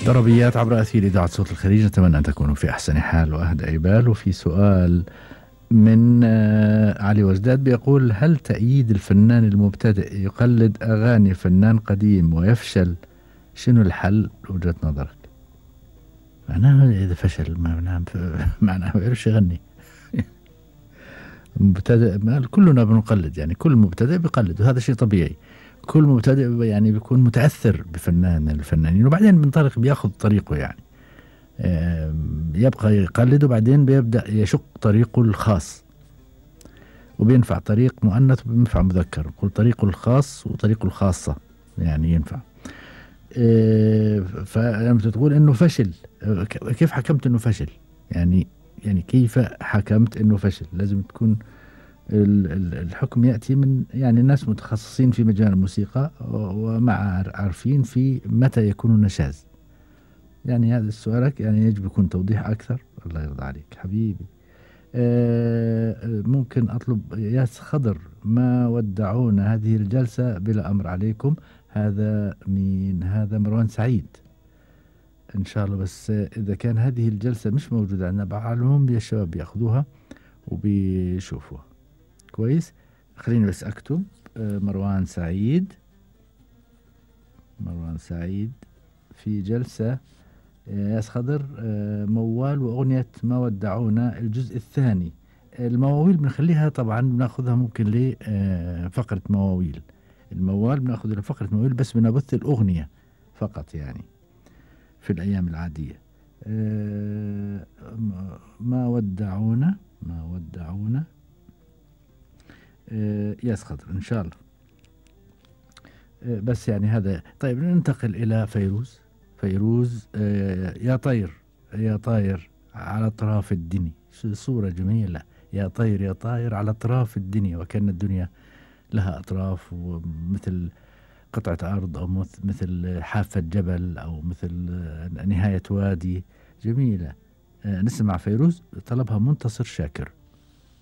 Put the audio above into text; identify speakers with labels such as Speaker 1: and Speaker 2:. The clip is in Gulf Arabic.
Speaker 1: ضربيات عبر أثير إذاعة صوت الخليج، نتمنى أن تكونوا في أحسن حال وأهدى بال. وفي سؤال من علي وجداد بيقول: هل تأييد الفنان المبتدئ يقلد أغاني فنان قديم ويفشل؟ شنو الحل وجهة نظرك؟ معناه إذا فشل معناه ما يعرفش يغني. مبتدئ كلنا بنقلد، يعني كل مبتدئ بيقلد وهذا شيء طبيعي. كل مبتدئ يعني بيكون متأثر بفنان من الفنانين وبعدين بينطلق بياخذ طريقه، يعني يبقى يقلد وبعدين بيبدأ يشق طريقه الخاص، وبينفع طريق مؤنث وبينفع مذكر، نقول طريقه الخاص وطريقه الخاصة يعني ينفع. فلما تقول انه فشل، كيف حكمت انه فشل؟ يعني كيف حكمت انه فشل؟ لازم تكون الحكم يأتي من يعني ناس متخصصين في مجال الموسيقى ومع عارفين في متى يكون نشاز. يعني هذا سؤالك يعني يجب يكون توضيح أكثر. الله يرضى عليك حبيبي. ممكن أطلب ياس خضر ما ودعونا هذه الجلسة بلا أمر عليكم. هذا مين؟ هذا مروان سعيد إن شاء الله. بس إذا كان هذه الجلسة مش موجودة عندنا بعلمهم يا الشباب بياخذوها وبيشوفوها كويس. خليني بس أكتب مروان سعيد في جلسة ياس خضر موال وأغنية ما ودعونا الجزء الثاني. المواويل بنخليها طبعا بناخذها ممكن لفقرة مواويل. الموال بناخذ لفقرة مواويل بس بنبث الأغنية فقط يعني في الأيام العادية. ما ودعونا ياس خضر إن شاء الله. بس يعني هذا. طيب ننتقل إلى فيروز. يا طاير على أطراف الدنيا. صورة جميلة. يا طاير على أطراف الدنيا، وكأن الدنيا لها أطراف، ومثل قطعة أرض أو مثل حافة جبل أو مثل نهاية وادي. جميلة. نسمع فيروز، طلبها منتصر شاكر.